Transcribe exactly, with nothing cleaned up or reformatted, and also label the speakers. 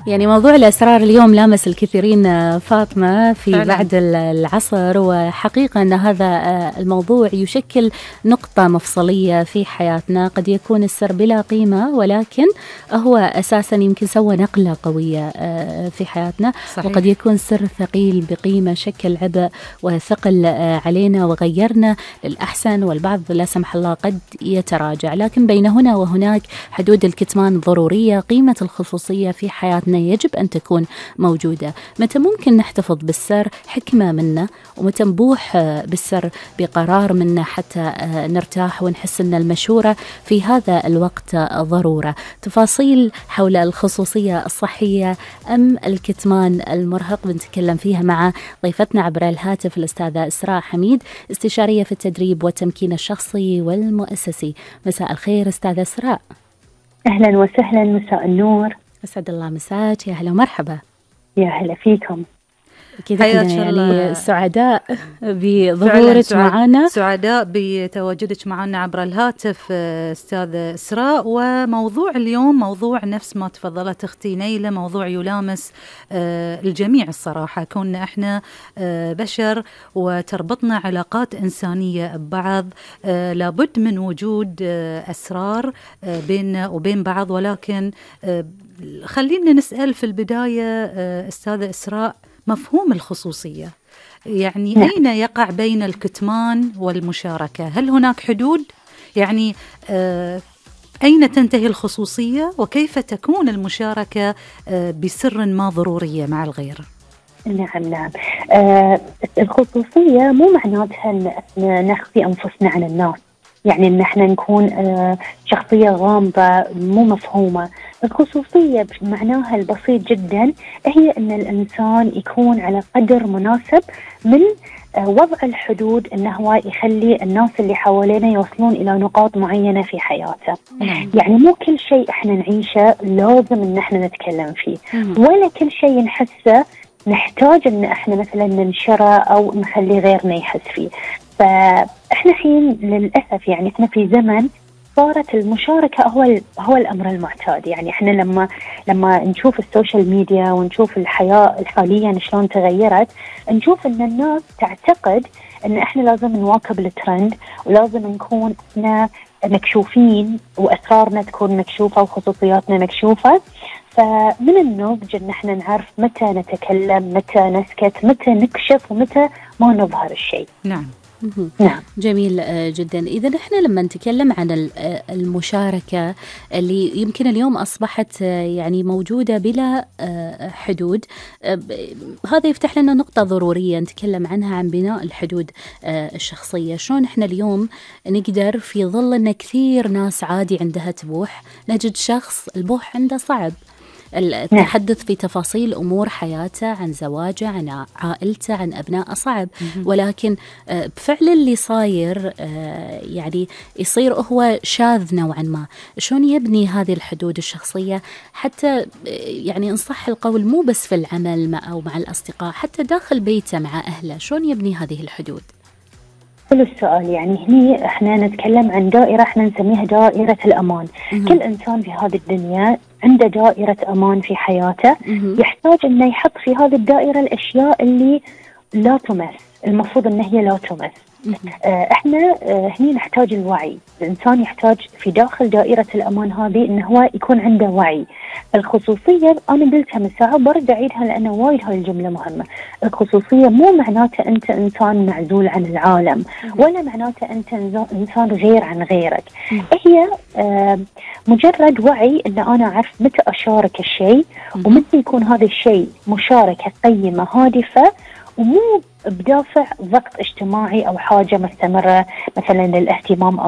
Speaker 1: يعني موضوع الأسرار اليوم لامس الكثيرين فاطمة في فعلا. بعد العصر، وحقيقة أن هذا الموضوع يشكل نقطة مفصلية في حياتنا. قد يكون السر بلا قيمة، ولكن هو أساسا يمكن سوى نقلة قوية في حياتنا. صحيح. وقد يكون سر ثقيل بقيمة شكل عبء وثقل علينا وغيرنا للأحسن، والبعض لا سمح الله قد يتراجع. لكن بين هنا وهناك حدود الكتمان ضرورية. قيمة الخصوصية في حياتنا يجب أن تكون موجودة. متى ممكن نحتفظ بالسر؟ حكمة منا، ومتى نبوح بالسر بقرار منا حتى نرتاح ونحس أن المشورة في هذا الوقت ضرورة. تفاصيل حول الخصوصية الصحية أم الكتمان المرهق بنتكلم فيها مع ضيفتنا عبر الهاتف الأستاذة إسراء حميد، استشارية في التدريب والتمكين الشخصي والمؤسسي. مساء الخير أستاذة إسراء.
Speaker 2: أهلا وسهلا، مساء النور.
Speaker 1: أسعد الله مساك، يا هلا ومرحبا.
Speaker 2: يا هلا فيكم.
Speaker 1: كذا يعني سعداء بظهورك معنا،
Speaker 3: سعداء بتواجدك معنا عبر الهاتف أستاذة إسراء. وموضوع اليوم موضوع نفس ما تفضلت أختي نيلة، موضوع يلامس الجميع الصراحة. كوننا إحنا بشر وتربطنا علاقات إنسانية ببعض، لابد من وجود أسرار بيننا وبين بعض. ولكن خلينا نسأل في البداية أستاذة إسراء، مفهوم الخصوصية يعني نعم. أين يقع بين الكتمان والمشاركة؟ هل هناك حدود؟ يعني آه أين تنتهي الخصوصية، وكيف تكون المشاركة آه بسر ما ضرورية مع الغير؟
Speaker 2: نعم نعم آه الخصوصية مو معناتها أن نخفي أنفسنا عن الناس، يعني أن احنا نكون آه شخصية غامضة مو مفهومة. الخصوصية بمعناها البسيط جدا هي أن الإنسان يكون على قدر مناسب من آه وضع الحدود، أنه هو يخلي الناس اللي حوالينا يوصلون إلى نقاط معينة في حياته. مم. يعني مو كل شيء احنا نعيشه لازم أن احنا نتكلم فيه، مم. ولا كل شيء نحسه نحتاج أن احنا مثلا ننشره أو نخلي غيرنا يحس فيه. فإحنا حين للأسف يعني إحنا في زمن صارت المشاركة هو هو الأمر المعتاد. يعني إحنا لما لما نشوف السوشيال ميديا ونشوف الحياة حاليا شلون تغيرت، نشوف إن الناس تعتقد إن إحنا لازم نواكب الترند، ولازم نكون إحنا مكشوفين وأسرارنا تكون مكشوفة وخصوصياتنا مكشوفة. فمن النضج إن إحنا نعرف متى نتكلم، متى نسكت، متى نكشف، ومتى ما نظهر الشيء.
Speaker 3: نعم.
Speaker 1: نعم جميل جدا. إذا نحن لما نتكلم عن المشاركة اللي يمكن اليوم أصبحت يعني موجودة بلا حدود، هذا يفتح لنا نقطة ضرورية نتكلم عنها، عن بناء الحدود الشخصية. شلون إحنا اليوم نقدر في ظل أن كثير ناس عادي عندها تبوح، نجد شخص البوح عنده صعب، التحدث في تفاصيل أمور حياته، عن زواجه، عن عائلته، عن أبنائه صعب. ولكن بفعل اللي صاير يعني يصير هو شاذ نوعا ما. شلون يبني هذه الحدود الشخصية حتى يعني إن صح القول مو بس في العمل مع أو مع الأصدقاء، حتى داخل بيته مع أهله، شلون يبني هذه الحدود؟
Speaker 2: كل السؤال يعني هني احنا نتكلم عن دائرة احنا نسميها دائرة الأمان. مم. كل إنسان في هذه الدنيا عنده دائرة أمان في حياته. مم. يحتاج إنه يحط في هذه الدائرة الأشياء اللي لا تمس، المفروض إن هي لا تمس. آه احنا آه هني نحتاج الوعي. الإنسان يحتاج في داخل دائرة الأمان هذه إنه هو يكون عنده وعي. الخصوصية أنا قلتها من ساعة برد أعيدها لأنه وايد هاي الجملة مهمة. الخصوصية مو معناته أنت إنسان معزول عن العالم، ولا معناته أنت إنسان غير عن غيرك. هي آه مجرد وعي إن أنا أعرف متى أشارك الشيء، ومتى يكون هذا الشيء مشاركة قيمة هادفة، ومو بدافع ضغط اجتماعي أو حاجة مستمرة مثلا للاهتمام